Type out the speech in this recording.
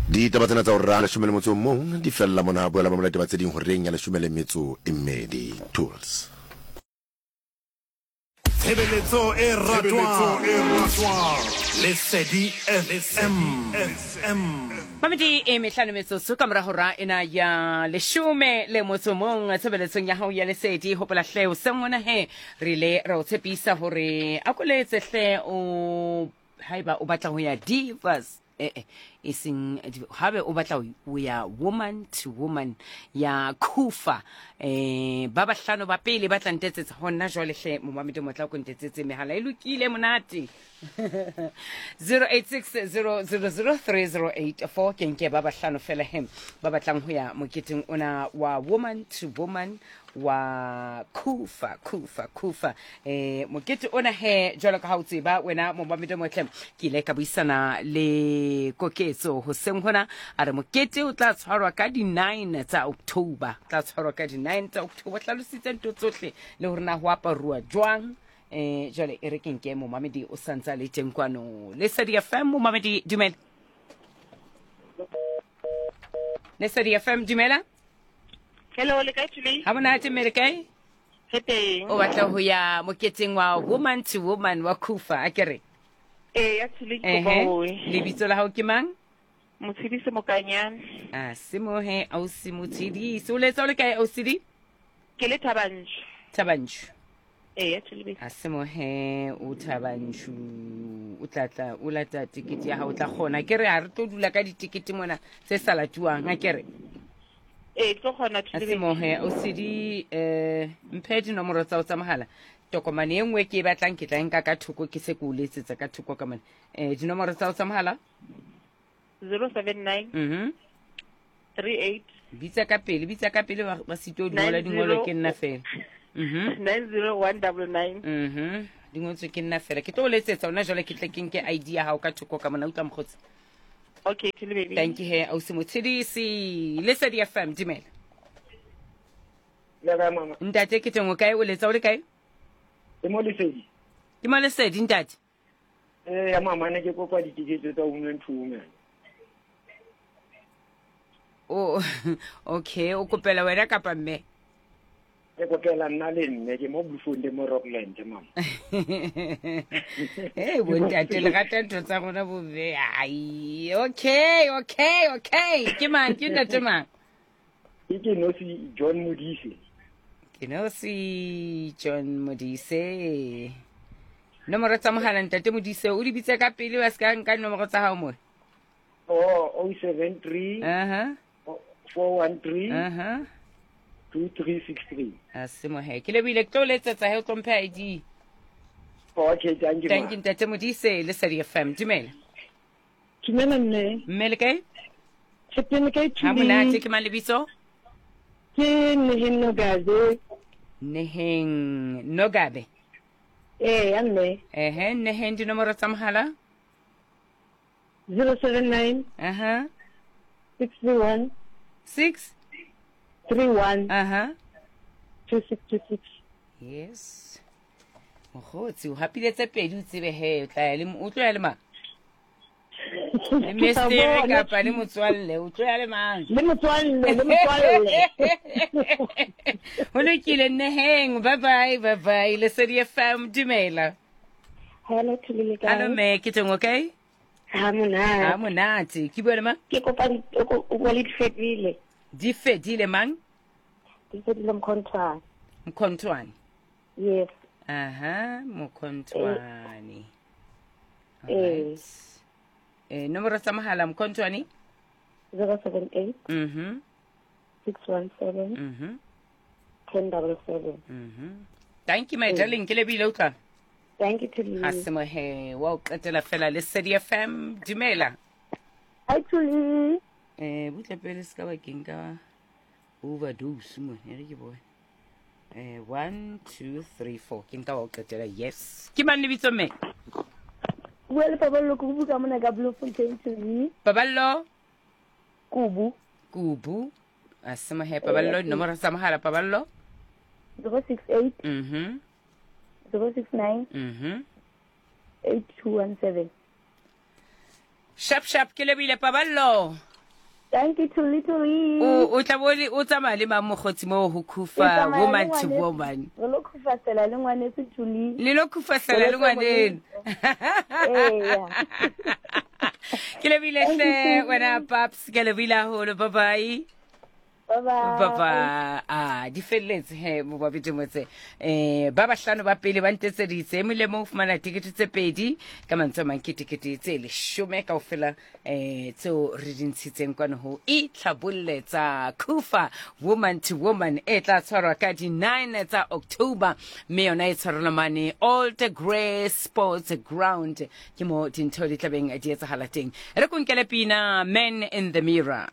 Ditaba tsena tsa hora leshome le motso o mong di fella mona. Boela mamela ditaba tse ding horeng ya leshome le metso e mmedi. Tools. Tshebeletso e ratwang Lesedi FM. Mamedi e mehlano metsotso ka mora hora ena ya leshome le motso mong tshebeletsong ya hao ya lesedi. Hopola hle o seng ona he re ile ra o tshepisa hore a ko letse hle o haeba o batla ho ya divas eh eh e seng habe o batla ho ya woman to woman ya khufa eh ba bahlano ba pele ba tla ntetsetsa ho nna jwale hle momamedi motla ko ntetsetse mehala e lokile monate 0860003084 ke nke ba bahlano fela he ba batlang ho ya moketeng ona wa woman to woman wa khufa khufa khufa eh mokete ona he jwalo ka ha o tseba wena momamedi motle ke ile ka buisana le koketso hoseng hona a re mokete o tla tshwarwa ka di-9 tsa october tla tshwarwa ka di-9 tsa october hlalositse ntho tsohle le hore na ho aparuwa jwang eh jwale e re ke nke momamedi o santse a le teng kwano lesedi fm momamedi dumela lesedi fm dumela Hello, le kae Thuli? Ha monate mme le kae? Re teng. O batla ho ya moketeng wa woman to woman wa Kufa, a kere? Ee, ya Thuli ke kopa Ehe. ho ye. Lebitso la hao ke mang? Motshedisi Mokanyane. A semohe ausi Motshedisi. O letsa o le kae ausi? Ke le Thabanchu. Thabanchu. Ee, ya Thuli A semohe o Thabanchu. O tla tla o lata tekete ya hao o tla kgona. Ke re ha re tlo dula ka ditekete mona tse sa latuwang, a kere? Ee, ke tlo kgona A semohe o sedi eh mphe dinomoro tsa o tsa mohala. Tokomane e nngwe ke e batlang ke tla e nka ka thoko ke se ke o letsetsa ka thoko ka mona. Eh dinomoro tsa o tsa mohala? 079 Mhm. 38 Bitsa ka pele, bitsa ka pele ba ba sitwe ho di ngola dingolo ke nna fela. Mhm. 90199. Mhm. Di ngotswe ke nna fela. Ke tlo o letsetsa ona jwale ke tle ke nke ID ya hao ka thoko ka mona utlwa mokgotsi. Okay, Thuli baby. Thank you he ausi Motshedisi. Lesedi FM dumela. Le kae mama? Ntate ke teng o kae o letsa o le kae? Ke mo Lesedi. Ke mo Lesedi ntate. Ee ya mama ne ke kopa ditikete tsa women to women. O okay, o kopela wena kapa mme? Ke kopela nna le mme ke mo Bloemfontein mo Rockland mama. Hey bontate le rata ntho tsa rona bo mme. Ai, okay, okay, okay. Ke mang ke ntate mang? Ke ke nosi John Modise. Ke nosi John Modise. Nomoro tsa mohala ntate Modise o di bitse ka pele ba se ka nka nomoro tsa hao mo. Oh, 073 Aha. 413 Aha. 2363. A se mohe. Ke lebile ke tlo letsetsa he o tlo mphe ID. Okay, thank you. Thank you ntate Modise le Sadi FM. Dumela. Dumela mme. Mme le kae? Ke teng kae Ha monate ke mang lebitso? Ke Neheng Nogabe. Neheng Nogabe. Ee, ya mme. Ehe, Neheng dinomoro tsa mohala? 079 Aha. 631 6 31 Aha. 2626. Yes. Mokgotsi o hapile tse pedi o tsebe he o tla ya le o tlo ya le mang? Le mestere kapa le motswalle o tlo ya le mang? Le motswalle, le motswalle. Ho lokile nneheng. Bye bye, bye bye. Lesedi FM dumela. Hello, Thuli le kae? Hello me, ke teng okay? Ha monate. Ha monate. Ke bua le mang? Ke kopa o bua le Difedile. Difedile mang? Difedile Mkhontwane. Mkhontwane. Yes. Aha, Mkhontwane. Eh. Alright. Eh, nomoro tsa mohala Mkhontwane? 078 Mhm. 617 Mhm. 1077. Mhm. Thank you my darling, ke lebile utlwa. Thank you Thuli. Ha se mohe wa o qetela fela le Sedi FM. Dumela. Hi Thuli. Eh, butle pele se ka bakeng ka overdose mo, e re ke bone. Eh, 1 2 3 4 ke nka wa o qetela yes. Ke mang lebitso mme? Bua le Paballo Kubu ka mona ka Bloemfontein Thuli. Paballo Kubu. Kubu. A se mohe Paballo dinomoro tsa mohala Paballo. 068 Mhm. 069 Mhm. 8217. Sharp sharp ke lebile Paballo. Thank you Thuli Thuli. O o tla bo o tsamaya le mang mokgotsi moo ho khufa woman to woman? Re lo khufasela le ngwaneso Thuli. Le lo khufasela le ngwaneno. Ee. Ke lebile hle wena Paps, ke lebile haholo. Bye bye. Bye bye. Bye bye. Ah, di felletse he mo ba bete motse. Eh, ba bahlano ba pele ba ntetseditse e mong le mong o fumana tikete tse pedi ka mantswe a mang ke tikete tse leshome kaofela eh tseo re di ntshitseng kwano ho itlhabolle tsa Kufa Woman to Woman e tla tshwarwa ka di 9 tsa October mme yona e tshwarelwa mane Old Grey Sports Ground ke mo dintho di tlabeng di etsahala teng re konkele pina Man in the Mirror.